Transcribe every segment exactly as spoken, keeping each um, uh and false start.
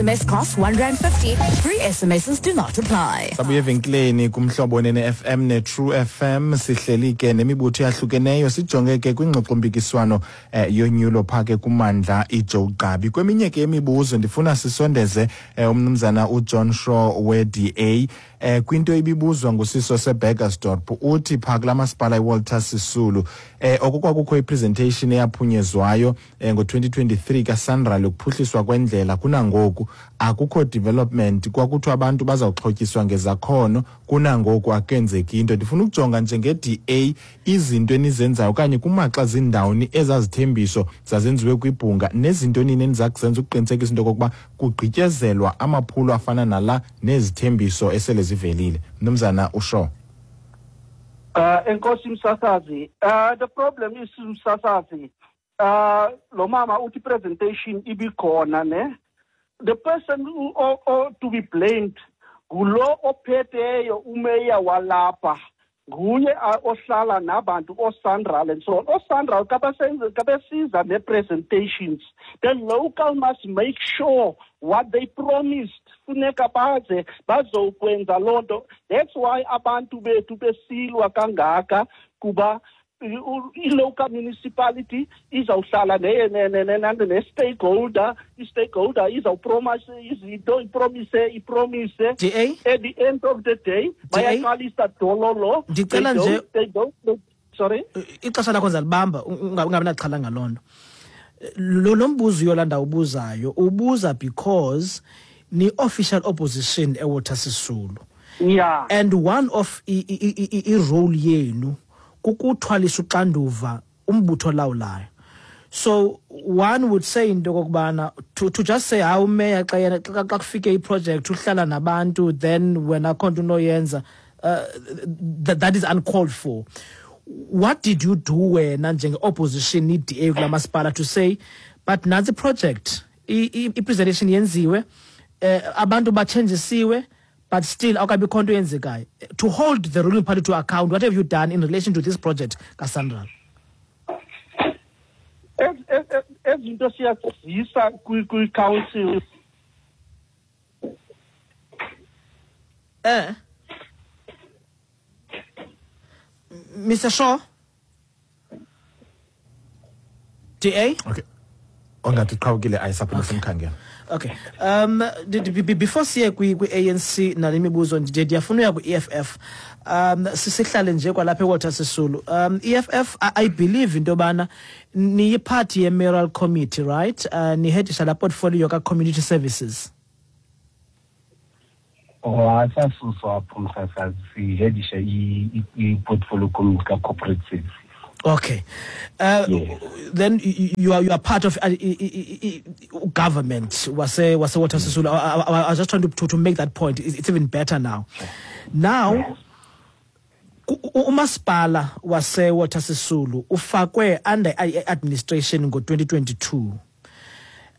S M S costs one rand fifty. Free S M Ss do not apply. Sabuye evenkileni kuMhlobo Nene F M ne-True F M. Sihleli ke nemibutho eyahlukeneyo, sijonge ke kwingxoxompikiswano eh, yonyulo phaa ke kumandla iJoe Gqabi. Kweminye ke imibuzo ndifuna sisondeze eh, umnumzana uJohn Shaw we-D A eh kwinto ibibuzwa ngusiso seBurgersdorp. Uthi phaa kulaa masipala iWalter Sisulu eh okokwakukho ipresentation eyaphunyezwayo eh, ngo-twenty twenty-three kaSANRAL yokuphuhliswa kwendlela, kunangoku akukho development. Kwakuthiwa abantu bazawuxhotyiswa ngezakhono, kunangoku akenzeki into. Ndifuna ukujonga njenge-D A izinto enizenzayo okanye kumaxa zindawoni ezazithembiso zazenziwe kwibhunga nezinto nini eniza kuzenza ukuqinisekisa into yokokuba kugqityezelwa amaphulo afana nala nezithembiso esele zivelile, mnumzana uShaw. Uh, enkosi msasazi. Uh, the problem is, msasazi, uh, lo mama uthi presentation ibikhona ne. The person who or, or to be blamed ngulo ophetheyo, umeya walapha. Nguye ohlala nabantu oSANRAL and so on. OSANRAL kabesiza ne-presentations. The local must make sure what they promised, funeka baze bazokwenza loo nto. That's why abantu bethu besilwa kangaka, kuba i-local municipality izawuhlala ne-stakeholder, i-stakeholder izawupromise izinto, ipromise, ipromise. D A. At the end of the day bayaqalisa dololo. Ndicela nje they don't, sorry. Ixesha lakho ndizalibamba, ungabi naxhala ngaloo nto. Lo lo mbuzo uYolanda ubuzayo, ubuza because ni-official opposition eWalter Sisulu yeah and one of i-role yenu kukuthwalisa uxanduva umbutho olawulayo. So one would say into okokubana to, to just say, hawu, umeya xa yena xa xa kufike iproject uhlala nabantu, then wena akho nto unoyenza, uh, that, that is uncalled for. What did you do wena njenge-opposition, i-D A kula masipala, to say, but nantsi iproject, i-presentation yenziwe, eh abantu bathenjisiwe, but still awukabikho nto yenzekayo, to hold the ruling party to account? What have you done in relation to this project kaSANRAL? Ezinto siyazisa kwi-council. eh Mister Shaw, D A. Okay, ongathi uqhawukile, ayisaphinda simkhangela. Okay. Um before siye kwi kwi-A N C nale mibuzo, nje ndiyafuna uya kwi-E F F. Um sisihlale nje kwalapha eWalter Sisulu. Um E F F, I, I believe into yobana niyiphathi ye-mayoral committee, right? Uh, nihedisha la portfolio ka community services. Oh, asasuswa apho, msasazi. Sihedisha i-portfolio committee ka-corporate services. Okay. Uh, Yes. Then you, you are you are part of uh, i- i- i- government wase wase Walter Sisulu. I, I, I was just trying to, to to make that point. It's, it's even better now. Now ku- u- umasipala wase Walter Sisulu ufakwe under i- administration ngo twenty twenty-two.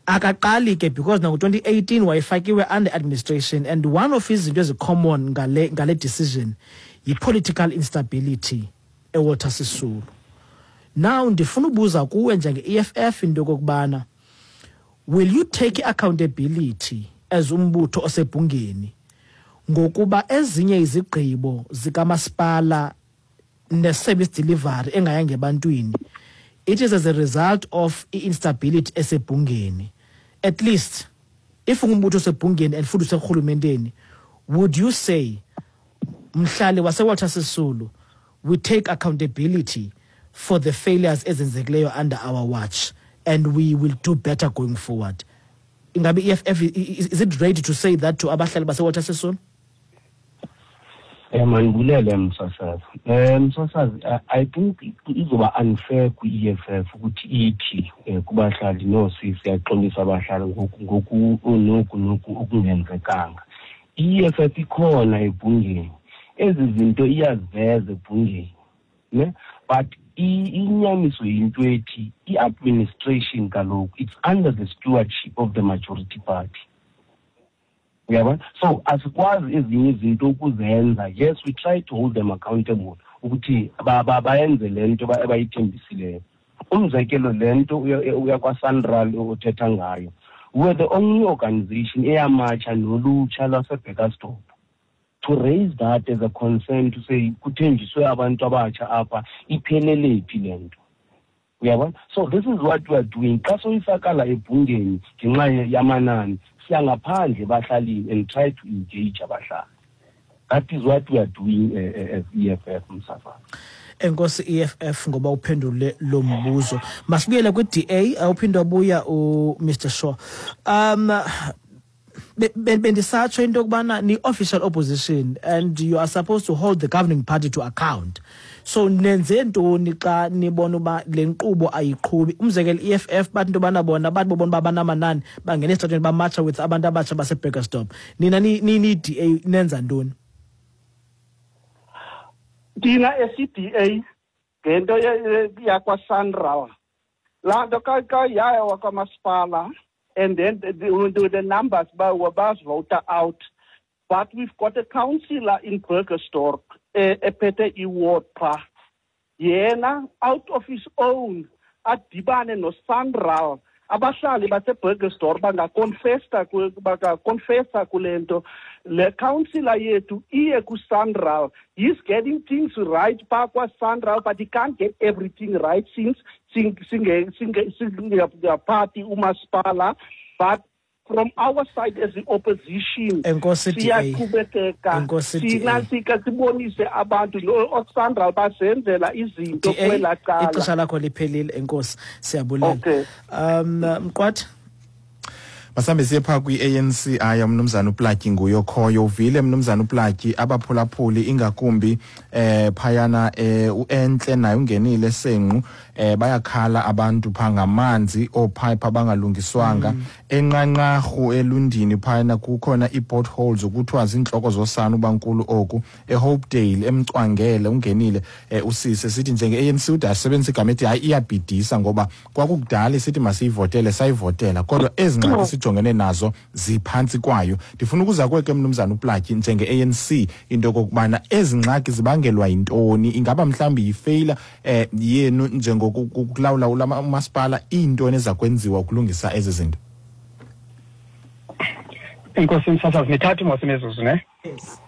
Akaqali ke, because nango twenty eighteen wayefakiwe under administration, and one of izinto ezicommon ngale ngale decision yi-political instability eWalter Sisulu. Now ndifuna ubuza kuwe njenge-E F F into yokokubana will you take accountability as umbutho osebhungeni ngokuba ezinye izigqibo zikamasipala ne-service delivery engayanga ebantwini, it is as a result of i-instability esebhungeni? At least if ungumbutho osebhungeni and futhi userhulumenteni, would you say, mhlali waseWalter Sisulu, we take accountability for the failures ezenzekileyo under our watch and we will do better going forward? Ingabe i-E F F is, is it ready to say that to abahlali baseWalter Sisulu? Eh mandibulele msasazi. Eh msasazi, I, I think izoba unfair kwi-E F F ukuthi ithi eh, kubahlali, no, siyaxolisa abahlali ngoku ngoku noku noku okungenzekanga. I-E F F ikhona ebhungeni. Ezi zinto iyaziveza ebhungeni. Ne? But inyaniso yinto ethi i-administration kaloku, it's under the stewardship of the majority party. Uyabona, so asikwazi ezinye izinto ukuzenza. Yes, we try to hold them accountable ukuthi bayenze le nto abayithembisileyo. Umzekelo, le nto uyakwaSANRAL othetha ngayo, We were the only organization eyamatsha nolutsha lwaseBurgersdorp to raise that as a concern, to say kuthenjiswe abantu abatsha apha, iphelele phi le nto. Uyabona? So this is what we are doing. Xa soyisakala ebhungeni ngenxa yamanani, siya ngaphandle ebahlalini and try to engage abahlali. That is what we are doing uh, as E F F, Msasazi. Enkosi E F F ngoba uphendule lo mbuzo. Masibuyele kwi-D A, awuphinde wabuya u-Mister Shaw. Um bendisatsho into yokubana ni-official opposition and you are supposed to hold the governing party to account. So nenze ntoni xa nibona uba le nkqubo ayiqhubi? Umzekelo E F F bathi into yobana bona bathi bobona uba banamanani bangena esitratweni bamatsha with abantu abatsha baseBurgersdorp. Nina niyi-D A nenza ntoni? Thina esi-D A ngento yakwaSANRAL, laa nto yaya wakwamasipala, and then the, the, the numbers were out. But we've got a councillor in Burgersdorp, ephethe iward pha. Yena, out of his own, adibane noSANRAL. Abahlali baseBurgersdorp bangakonfesta bangakonfesa kule nto. Le councillor yethu iye kuSANRAL. He's getting things right pha kwaSANRAL, but he can't get everything right since singaphathi umasipala. But from our side as the opposition, siyaqhubekeka, sinasika sibonise abantu oSANRAL basenzela izinto kwela cala. Ixesha lakho liphelile, enkosi, siyabulela. Okay. Um Mqwathi, masambe siye phaa kwi-A N C. Aya mnumzana uPlatyi nguye okhoyo. Uvile mnumzana uPlatyi, abaphulaphuli ingakumbi eh phayana eh uEntle naye ungenile senqu, eh bayakhala abantu phaa ngamanzi oopipe abangalungiswanga. Mm. Enqanqarhu elundini phayana kukhona ii-potholes okuthiwa ziintloko zosana ubankulu oku. eHopedale emcwangele ungenile eh, usise sithi njenge-A N C ude asebenzise igama ethi hayi iyabhidisa ngoba kwakukudala sithi masiyivotele sayivotela, kodwa ezi ngxaki sijongene nazo ziphantsi kwayo. Ndifuna ukuza kweke mnumzana uPlatyi njenge-A N C into yokokubana ezi ngxaki zibangelwa yintoni? Ingaba mhlawumbi yifeyila eh, yenu njengokulawula umasipala? Iintoni eza kwenziwa ukulungisa ezi zinto? Enkosi msasazi, mithathu mos imizuzu ne? Yes.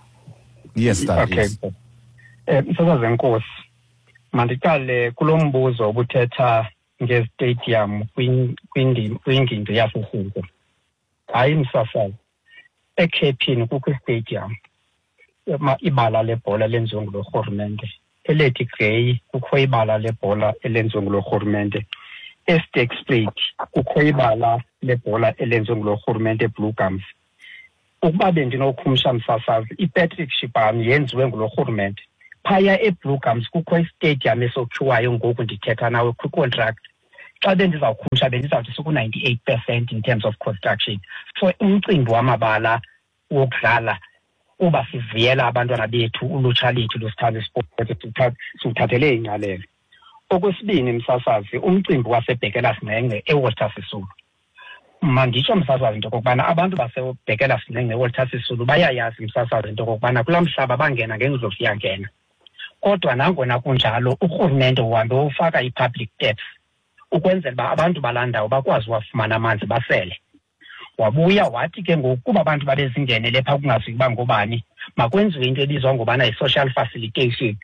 Yes, that okay. Is. Eh, msasazi enkosi, mandiqale kulo mbuzo obuthetha ngezitadium kwingingqi yaseSingo. Hayi msasazi, eKhephini kukho istadium, ibala lebhola lenziwe ngulorhulumente. ELady Grey kukho ibala lebhola elenziwe ngulorhulumente. eSterkspruit kukho ibala lebhola elenziwe ngulorhulumente, Blue Gums. Ukuba bendinokhumsha msasazi, iPatrick Shibani yenziwe ngulorhulumente. Phaya eBlue Gums kukho istadium esokhiwayo ngoku ndithetha nawe kwicontract. Xa bendizawukhumsha bendizawuthi siku-ninety-eight percent in terms of construction. So umcimbi wamabala wokudlala uba sivuyela abantwana bethu, ulutsha lethu lusithanda isport, siwuthathele ingqalelo. Okwesibini msasazi, umcimbi waseBhekela Sinenge eWalter Sisulu. Manditsho msasazi into okokubana abantu baseBhekela Sinenge eWalter Sisulu bayayazi msasazi into okokubana kulaa mhlaba bangena ngendlovu yangena. Kodwa nangona kunjalo urhulumente uhambe wofaka i-public taps ukwenzela uba abantu balaa ndawo bakwazi uwafumana amanzi basele. Wabuya wathi ke ngoku kuba abantu babezingenele phaa kungaziwa uba ngobani, makwenziwe into ebizwa ngobana yi-social facilitation,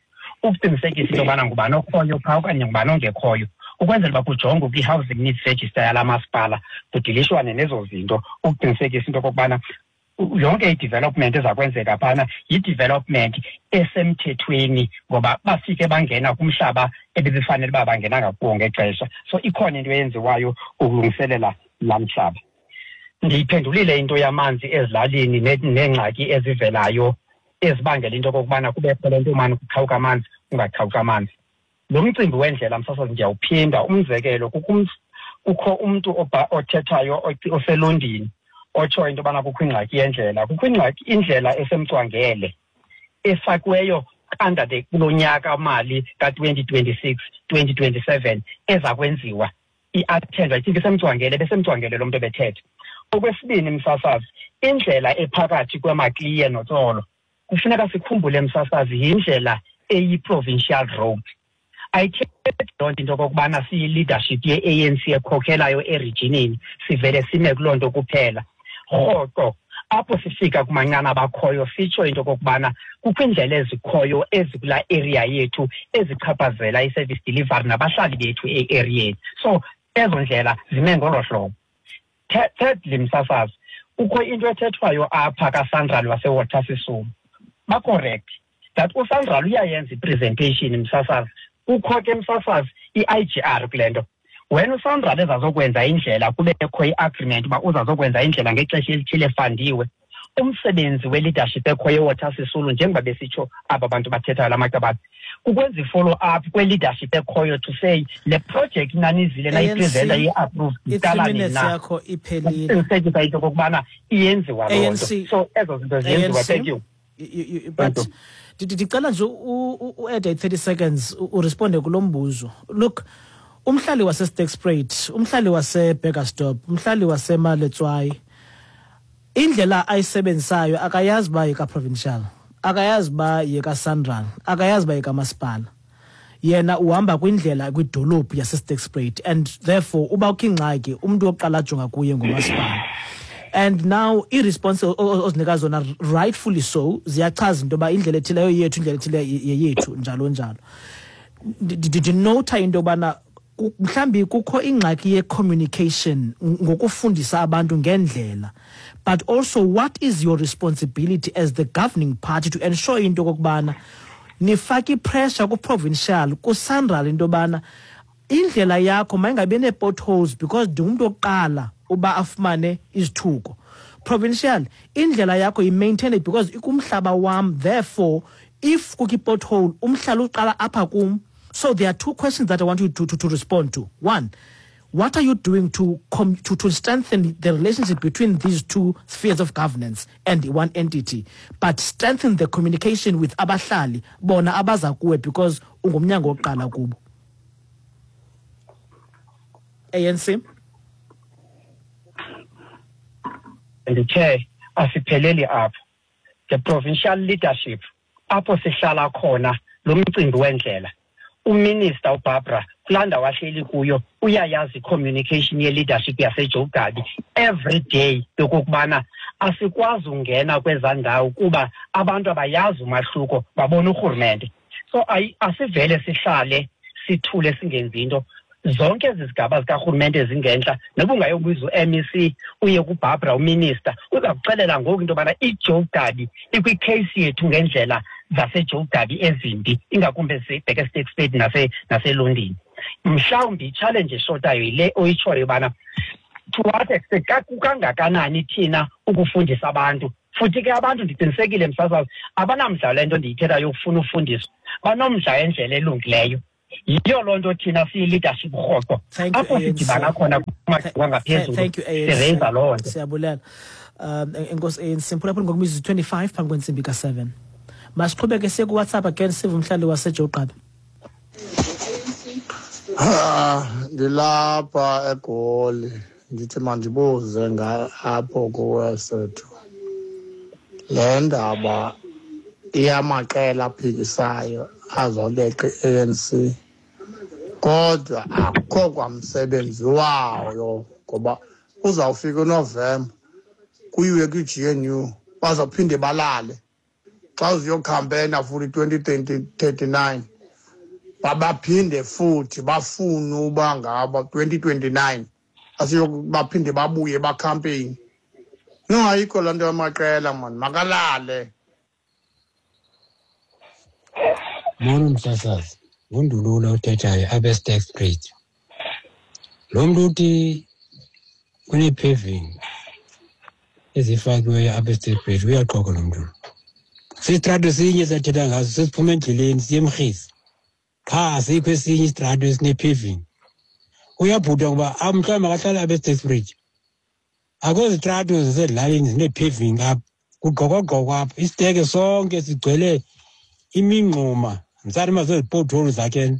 ukuqinisekisa into yobana ngubani okhoyo phaa okanye ngubani ongekhoyo, ukwenzela uba kujongwe kwi-housing needs register yalaa masipala, kudilishwane nezo zinto ukuqinisekisa into okokubana yonke i-development eza kwenzeka phana yi-development esemthethweni, ngoba bafike bangena kumhlaba ebebefanele uba bangena ngakuwo ngexesha. So ikhona into eyenziwayo ukulungiselela laa mhlaba. Ndiyiphendulile into yamanzi ezilalini neengxaki ezivelayo ezibangela into okokubana kubekho le nto umane kuqhawuka amanzi kungaqhawuki amanzi. Lo mcimbi wendlela msasazi ndiyawuphinda. Umzekelo, kukho umntu othethayo oselondini otsho into yobana kukho ingxaki yendlela. Kukho ingxaki indlela esemcwangele efakiweyo under the kulo nyaka mali ka-twenty twenty-six twenty twenty-seven eza kwenziwa i-attendwa. I think isemcwangele, besemcwangele lo mntu ebethetha. Okwesibini msasazi, indlela ephakathi kweMakliye noTsolo kufuneka sikhumbule msasazi yindlela eyi-provincial road. Ayithethi loo nto into okokubana siyi-leadership ye-A N C ekhokhelayo erijinini, sivele sime kuloo nto kuphela. Rhoqo apho sifika kumanqanaba akhoyo sitsho into okokubana kukho iindlela ezikhoyo ezikulaa area yethu ezichaphazela i-service delivery nabahlali bethu e-areyeni. So ezo ndlela zime ngolo hlobo. Thirdly, msasazi, kukho into ethethwayo apha kaSANRAL waseWalter Sisulu. Ba-correct that uSANRAL uyayenza i-presentation, msasazi. Kukho ke, msasazi, i-I G R kule nto. Wena uSANRAL ezazokwenza indlela, kubekho i-agreement uba uzazokwenza indlela ngexesha elithile efandiwe. Umsebenzi we-leadership ekhoyo eWalter Sisulu, njengoba besitsho aba bantu bathethayo la macabane, kukwenza i-follow up kwe-leadership ekhoyo to say le project nanizile nayipresenta i-approve iqala nini na. Yakho iphelile. Ukuqinisekisa into okokubana iyenziwa loo nto. So ezo zinto ziyenziwa. Thank you. But ndicela nje u-add thirty seconds uresponde kulo mbuzo. Look, umhlali waseSterkspruit, umhlali waseBurgersdorp, umhlali waseMaletswai, indlela ayisebenzisayo akayazi uba yeka-provincial, akayazi uba yeka-SANRAL, akayazi uba yekamasipala. Yena uhamba kwindlela kwidolophu yaseSterkspruit, and therefore uba kukho ingxaki umntu wokuqala ajonga kuye ngumasipala. And now i-response ozinika zona, rightfully so, ziyachaza into yoba indlela ethileyo yethu, indlela ethile yeyethu, njalo njalo. Ndinotha into yobana mhlawumbi kukho ingxaki ye-communication ngokufundisa abantu ngendlela, but also what is your responsibility as the governing party to ensure into okokubana nifake i-pressure ku-provincial, ku-SANRAL, into yobana indlela yakho mayingabi nee-potholes because ndingumntu wokuqala uba afumane izithuko. Provincial, indlela yakho yi-maintain it because ikumhlaba wam, therefore if kukho i-pothole umhlala uqala apha kum. So there are two questions that I want you to, to, to respond to. One, what are you doing to, com- to, to strengthen the relationship between these two spheres of governance and one entity, but strengthen the communication with abahlali, bona abaza kuwe because ungumnyango wokuqala kubo. A N C? Ndithe asipheleli apho. The provincial leadership, apho sihlala khona lo mcimbi wendlela. Uminister uBarbara kulaa ndawo ahleli kuyo uyayazi i-communication ye-leadership yaseJoe Gqabi every day yokokubana asikwazi ungena kwezaa ndawo kuba abantu abayazi umahluko, babona urhulumente. So asivele sihlale sithule singenzi into. Zonke ezi zigaba zikarhulumente ezingentla, noba ungayobuza u-M E C uye kuBarbara uminister, uza kuxelela ngoku into yobana iJoe Gqabi ikwi-case yethu ngendlela zaseJoe Gqabi ezimbi, ingakumbi ezibheke eSterkspruit nase naseLondini. Mhlawumbi i-challenge eshotayo yile oyitshoyo yobana to what extent kukangakanani thina ukufundisa abantu. Futhi ke abantu ndiqinisekile msasazi abanamdla le nto ndiyithethayo yokufuna ufundiswa, banomdla endlela elungileyo. Yiyo loo nto thina siyi-leadership rhoqo apho sidibana khona kwangaphezulu sirenza loo nto. Siyabulela. Um enkosi A N C. Mphulaphuli ngokwemizuzu twenty-five phambi kwentsimbi ka-seven. Masiqhubeke siye kuWhatsApp again sive umhlali waseJoe Gqabi. Ah, ndilapha eGoli, ndithi mandibuze apho kuwe Sethu. Le ndaba iyamaqela aphikisayo azoleqa i-A N C, kodwa akukho kwamsebenzi wayo ngoba uzawufika uNovemba kuyiwe kwi-G N U, bazawuphinde balale xa uziyokhampeyina futhi twenty thirty-nine, babaphinde futhi bafune uba ngaba twenty twenty-nine baphinde babuye bakhampeyini. No, ayikho laa nto yamaqela mani, makalale. Molo msasazi, ngundulula othethayo apha eSterkspruit. Lo mntu uthi kunee-paving ezifakiweyo apha eSterkspruit, uyaxoka lo mntu. Sisitrato sinye esathetha ngaso, sesiphuma endleleni siye eMrhisi. Qha asikho esinye isitrato esine-paving. Uyabhuda ngoba mhlawumbi akahlali apha eSterkspruit. Akho zitrato zasezilalini zine-paving apha, kugqokogqoko apha. Isiteke sonke sigcwele imingxuma, msari masezipothole zakhe.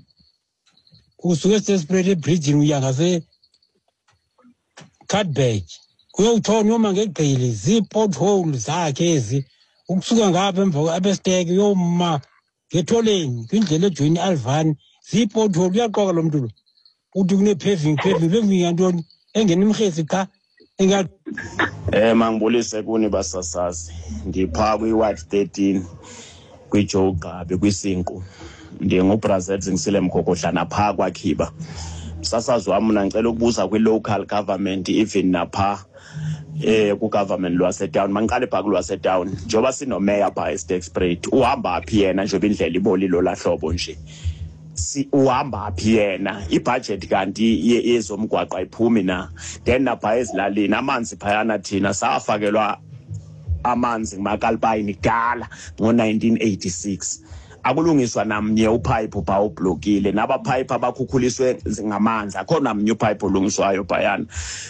Usuke eSterkspruit ebridgini uya ngase-Cardberg, uyowutshona uyoma ngegqili, zii-pothole zakhe ezi. Ukusuka ngapha emva apha esiteke uyoma ngetholeni kwindlela ejoyina iAlvani, Ziipothole, uyaxoka lo mntu lo. Uthi kune-paving, paving, paving yantoni? Engena imrhesi qha. Enga Eh mangibulise kuni basasazi. Ndipha kwi-ward thirteen kwiJoe Gqabi kwiSinqu. NdinguBrazil Zingisile Mgogodlana pha kwakhiba. Msasazi wami mina ngicela ukubuza kwi-local government even napha eh ku-government lwasetown. Mangiqale pha kulwasetown. Njengoba sinomeya pha eSterkspruit, uhamba phi yena njengoba indlela ibolile lahlobo nje. Si uhamba phi yena, ibudget kanti yezomgwaqo ayiphumi na. Then napha ezilalini amanzi phayana thina safakelwa amanzi ngumakalpayini kudala ngo nineteen eighty-six. Akulungiswa namnye upipe pha ublokile, nabapipe abakhukhuliswe ngamanzi akho namnye upipe olungiswayo phayana.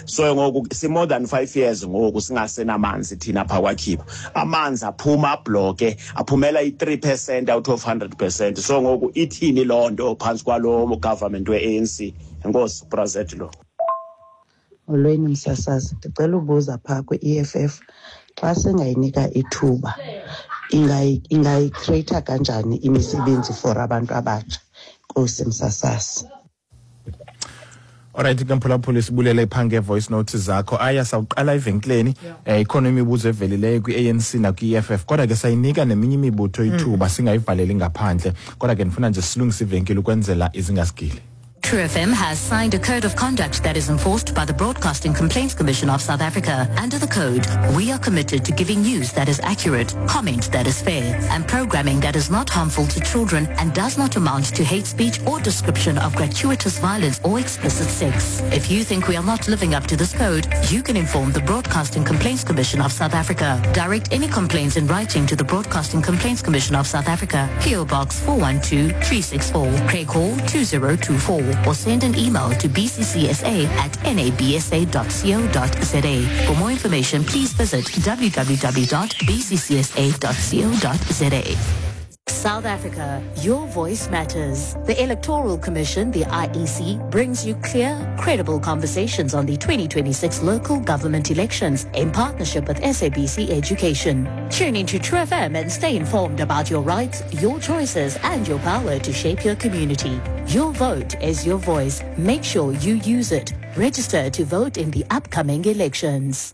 So ngoku si more than five years ngoku singasenamanzi thina pha kwakhiba. Amanzi aphuma abloke, aphumela i-three percent out of hundred percent. So ngoku ithini loo nto phantsi kwalo government we-A N C? Enkosi Brazet lo. Molweni msasazi, ndicela ubuza phaa kwi-E F F xa singayinika ithuba ingayicreata kanjani imisebenzi for abantu abatsha? Nkosi msasazi. Alright, ke mphulaphuli sibulele phaa nge-voice note zakho. Aya sawuqala evenkileni, eh ikhona imibuzo evelileyo kwi-A N C nakwi-E F F, kodwa ke sayinika neminye imibutho ithuba singayivaleli ngaphandle. Kodwa ke ndifuna nje silungise ivenkile ukwenzela izingasigili. True F M has signed a code of conduct that is enforced by the Broadcasting Complaints Commission of South Africa. Under the code, we are committed to giving news that is accurate, comment that is fair, and programming that is not harmful to children and does not amount to hate speech or description of gratuitous violence or explicit sex. If you think we are not living up to this code, you can inform the Broadcasting Complaints Commission of South Africa. Direct any complaints in writing to the Broadcasting Complaints Commission of South Africa, P O Box four one two three six four, Craig Hall two zero two four. Or send an email to b c c s a at n a b s a dot co dot z a. For more information, please visit w w w dot b c c s a dot co dot z a. South Africa, your voice matters. The Electoral Commission, the I E C, brings you clear, credible conversations on the twenty twenty-six local government elections in partnership with S A B C Education. Tune into True F M and stay informed about your rights, your choices, and your power to shape your community. Your vote is your voice. Make sure you use it. Register to vote in the upcoming elections.